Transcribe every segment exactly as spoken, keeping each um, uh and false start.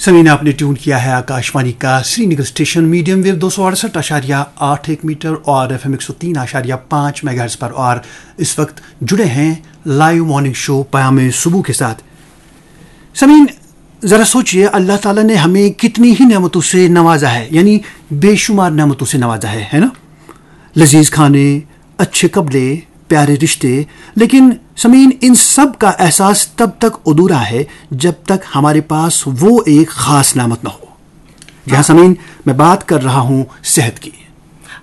سمعین، آپ نے ٹیون کیا ہے آکاشوانی کا سری نگر اسٹیشن میڈیم ویو دو سو اڑسٹھ اشاریہ آٹھ ایک میٹر اور ایف ایم ایک سو تین اشاریہ پانچ میگا ہرٹز پر، اور اس وقت جڑے ہیں لائیو مارننگ شو پیام صبح کے ساتھ۔ سمعین، ذرا سوچیے، اللہ تعالیٰ نے ہمیں کتنی ہی نعمتوں سے نوازا ہے، یعنی بے شمار نعمتوں سے نوازا ہے، ہے نا؟ لذیذ کھانے، اچھے کپڑے، پیارے رشتے، لیکن سمعین، ان سب کا احساس تب تک ادھورا ہے جب تک ہمارے پاس وہ ایک خاص نعمت نہ ہو۔ جہاں سمعین، میں بات کر رہا ہوں صحت کی۔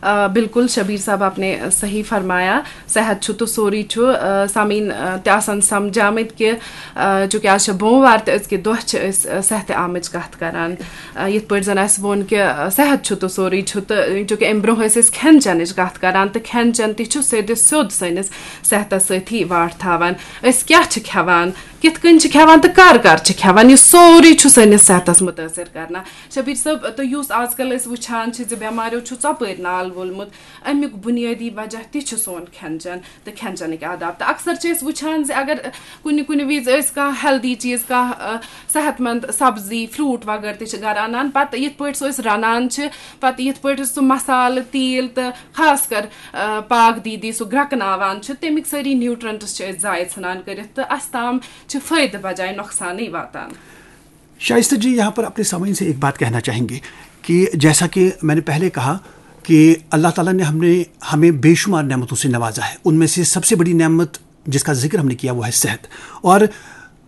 آ، بِلکُل شبیٖر صٲب، آپ نے صحیح فرمایا۔ صحت چھُ تہٕ سورُے چھُ، آ، سامعیٖن، آ، تہِ آسَن سَمجھامٕتۍ کہِ، آ، چوٗنٛکہِ آز چھِ بوموار تہٕ أزکہِ دۄہ چھِ أسۍ، آ، صحتِ عامٕچ کَتھ کَران۔ آ، یِتھ پٲٹھۍ زَن اَسہِ ووٚن کہِ، آ، صحت چھُ تہٕ سورُے چھُ، تہٕ چوٗنٛکہِ اَمہِ برٛونٛہہ ٲسۍ أسۍ کھٮ۪ن چٮ۪نٕچ کَتھ کَران، تہٕ کھٮ۪ن چٮ۪ن تہِ چھُ سیوٚدِ سیوٚد سٲنِس صحتَس سۭتی واٹھ تھاوان۔ أسۍ کیٛاہ چھِ کھٮ۪وان، کِتھ کٔنۍ چھِ کھٮ۪وان تہٕ کَر کَر چھِ کھٮ۪وان، یہِ سورُے چھُ سٲنِس صحتَس مُتٲثِر کَران۔ شبیٖر صٲب، تہٕ یُس آز کَل أسۍ وٕچھان چھِ زِ بٮ۪ماریو چھُ ژۄپٲرۍ نال وولمُت، اَمیُک بُنیٲدی وجہ تہِ چھُ سون کھٮ۪ن چٮ۪ن تہٕ کھٮ۪ن چٮ۪نٕکۍ آداب۔ تہٕ اکثر چھِ أسۍ وٕچھان زِ اگر کُنہِ کُنہِ وِزِ أسۍ کانٛہہ ہیلدی چیٖز، کانٛہہ، آ، صحت مند سبزی، فروٗٹ وغٲرٕ تہِ چھِ گرٕ اَنان، پتہٕ یِتھ پٲٹھۍ سُہ أسۍ رَنان چھِ، پتہٕ یِتھ پٲٹھۍ سُہ مسالہٕ، تیٖل تہٕ خاص کر، آ، پاک دیٖدی سُہ گرٛٮ۪کناوان چھِ، تَمِکۍ سٲری نیوٗٹرنٹس چھِ أسۍ ضایع ژھٕنان کٔرِتھ تہٕ اَسہِ تام چھِ فٲیدٕ بجایہِ نۄقصانٕے واتان۔ شائستہ جی، یہاں پر اپنے سامعین سے ایک بات کہنا چاہیں گے کہ جیسا کہ میں نے پہلے کہا کہ اللہ تعالیٰ نے ہم نے ہمیں بے شمار نعمتوں سے نوازا ہے۔ ان میں سے سب سے بڑی نعمت جس کا ذکر ہم نے کیا، وہ ہے صحت۔ اور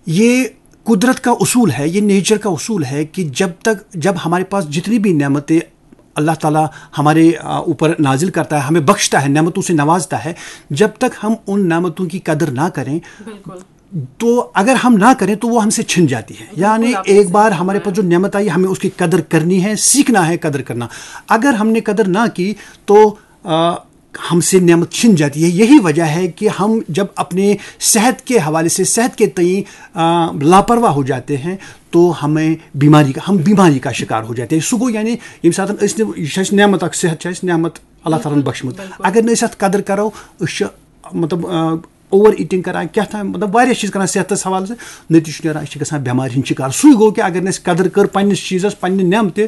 یہ قدرت کا اصول ہے، یہ نیچر کا اصول ہے کہ جب تک، جب ہمارے پاس جتنی بھی نعمتیں اللہ تعالیٰ ہمارے، آ، اوپر نازل کرتا ہے، ہمیں بخشتا ہے، نعمتوں سے نوازتا ہے، جب تک ہم ان نعمتوں کی قدر نہ کریں، بالکل۔ تو اگر ہم نہ کریں تو وہ ہم سے چھن جاتی ہے۔ بالکل، یعنی آپ نے ایک صحیح بار ہمارے پاس جو نعمت آئی، ہمیں اس کی قدر کرنی ہے، سیکھنا ہے قدر کرنا۔ اگر ہم نے قدر نہ کی تو، آ، ہم سے نعمت چھن جاتی ہے۔ یہی وجہ ہے کہ ہم جب اپنے صحت کے حوالے سے، صحت کے تئیں، آ، لاپرواہ ہو جاتے ہیں تو ہمیں بیماری کا، ہم بیماری کا شکار ہو جاتے ہیں۔ سُہ گوٚو یعنی ییٚمہِ ساتہٕ أسۍ نہٕ، یہِ چھِ اَسہِ نعمت اکھ، صحت چھِ اَسہِ نعمت اللہ تعالیٰ ہن بخشمُت۔ بالکل۔ اگر نہٕ أسۍ اَتھ قدر کرو، أسۍ چھِ مطلب، آ، اوور ایٹنگ کران، کیٛاہ تام، مطلب، واریاہ چیٖز کران صحتس حوالہٕ سۭتۍ، نتیجہٕ چھُ نیران أسۍ چھِ گژھان بٮ۪مارِ ہِنٛدۍ شِکار۔ سُے گوٚو کہِ اگر نہٕ اَسہِ قدر کٔر پننِس چیٖزس، پننہِ نعمتہِ،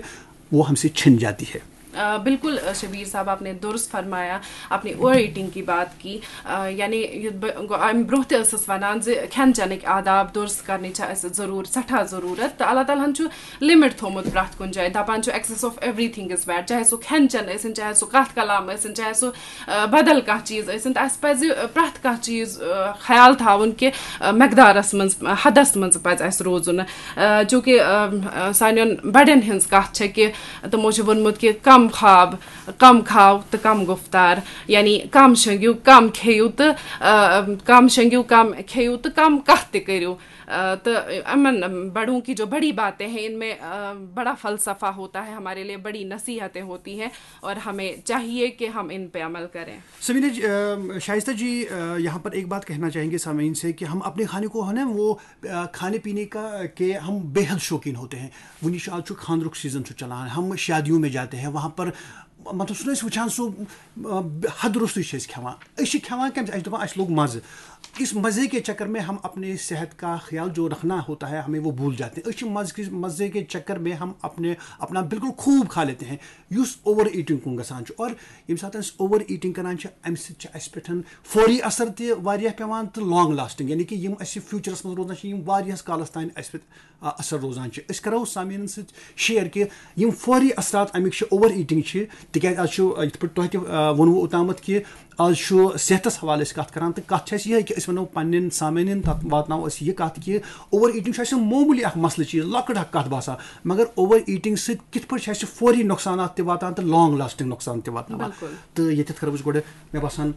وہ ہم سے چھن جاتی ہے۔ آ، بالکل، آ، شبیر صاحب، آپ نے درست فرمایا، آپ نے اوور ایٹنگ کی بات کی۔ آ، یعنی یہِ بہٕ-، گۄ-، امہِ برونٛہہ تہِ ٲسٕس ونان زِ کھٮ۪ن چٮ۪نٕکۍ آداب درست کرنٕچ چھےٚ اَسہِ ضروٗر-، سٮ۪ٹھاہ ضروٗرت، تہٕ اللہ تعالیٰ ہن چھُ لمٹ تھوٚومُت پرٛٮ۪تھ کُنہِ جایہِ، دپان چھُ excess of everything is bad، چاہے سُہ کھٮ۪ن چٮ۪ن ٲسِن، چاہے سُہ کتھ کلام ٲسِن، چاہے سُہ، آ، بدل کانٛہہ چیٖز ٲسِن، تہٕ اَسہِ پزِ، آ، پرٛٮ۪تھ کانٛہہ چیٖز، آ، خیال تھاوُن کہِ، آ، مقدارس منٛز، آ، حدس منٛز پزِ اَسہِ روزُن۔ آ، چوٗنٛکہِ، آ، آ، سانٮ۪ن بڑٮ۪ن ہٕنٛز کتھ چھےٚ کہِ تِمو چھُ ووٚنمُت کہِ کم خواب، کم کھاو تہٕ کم گفتار، یعنی کم شنگیو، کم کھیٚیِو تہٕ، آ، کم شنگیو، کم کھیٚیِو تہٕ کم کتھ تہِ کٔرِو۔ آ، تہٕ یِمن بڑوں کی جو بڑی باتیں ہیں، ان میں، آ، بڑا فلسفہ ہوتا ہے، ہمارے لیے بڑی نصیحتیں ہوتی ہیں اور ہمیں چاہیے کہ ہم ان پہ عمل کریں۔ سمینہ جی، آ، شائستہ جی، آ، یہاں پر ایک بات کہنا چاہیں گے سامعین سے کہ ہم اپنے کھانے کو ہے نا، وہ، آ، کھانے پینے کا کہ ہم بے حد شوقین ہوتے ہیں۔ وٕنہِ چھُ، آز چھُ خانٛدرُک سیٖزن چھُ چلان، ہم شادیوں میں جاتے ہیں، وہاں پر مطلب سُہ نہٕ أسۍ وٕچھان سُہ، آ، حد روٚستُے چھِ أسۍ کھٮ۪وان۔ أسۍ چھِ کھٮ۪وان کَمہِ، اَسہِ چھِ دَپان اَسہِ لوٚگ مَزٕ۔ اس مزے کے چکر میں ہم اپنے صحت کا خیال جو رکھنا ہوتا ہے، ہمیں وہ بھول جاتے ہیں۔ أسۍ چھِ مزٕ کِس، مزے کے چکر میں ہم اپنے، اپنا بالکل خوب کھا لیتے ہیں، یُس اوور ایٹنگ کُن گژھان چھُ۔ اور ییٚمہِ ساتہٕ أسۍ اوور ایٹنگ کران چھِ، اَمہِ سۭتۍ چھِ اَسہِ پٮ۪ٹھ فوری اثر تہِ واریاہ پٮ۪وان تہٕ لانگ لاسٹنگ، یعنی کہِ یِم اَسہِ فیوٗچرَس منٛز روزان چھِ، یِم واریاہَس کالَس تام اَسہِ پٮ۪ٹھ، آ، اثر روزان چھِ۔ أسۍ کرو سامعیٖنَن سۭتۍ شیئر کہِ یِم فوری اثرات اَمِکۍ چھِ، اوور ایٹنگ چھِ، تِکیازِ آز چھُ، آ، یِتھ پٲٹھۍ تۄہہِ تہِ، آ، ووٚنوُ اوٚتامَتھ کہِ آز چھُ صحتَس حوالہٕ أسۍ کَتھ کران، تہٕ کَتھ چھِ اَسہِ یِہے کہِ أسۍ وَنو پَنٕنٮ۪ن سامعیٖنَن تَتھ واتناوو أسۍ یہِ کَتھ کہِ اوور ایٹنگ چھُ اَسہِ معموٗلی اکھ مسلہٕ چیٖز، لۄکٕٹ اکھ کَتھ باسان، مگر اوور ایٹنگ سۭتۍ کِتھ پٲٹھۍ چھِ اَسہِ فوری نۄقصانات تہِ واتان تہٕ لانگ لاسٹنگ نۄقصان تہِ واتناوان۔ بِلکُل۔ تہٕ ییٚتٮ۪تھ کَرو أسۍ گۄڈٕ، مےٚ باسان،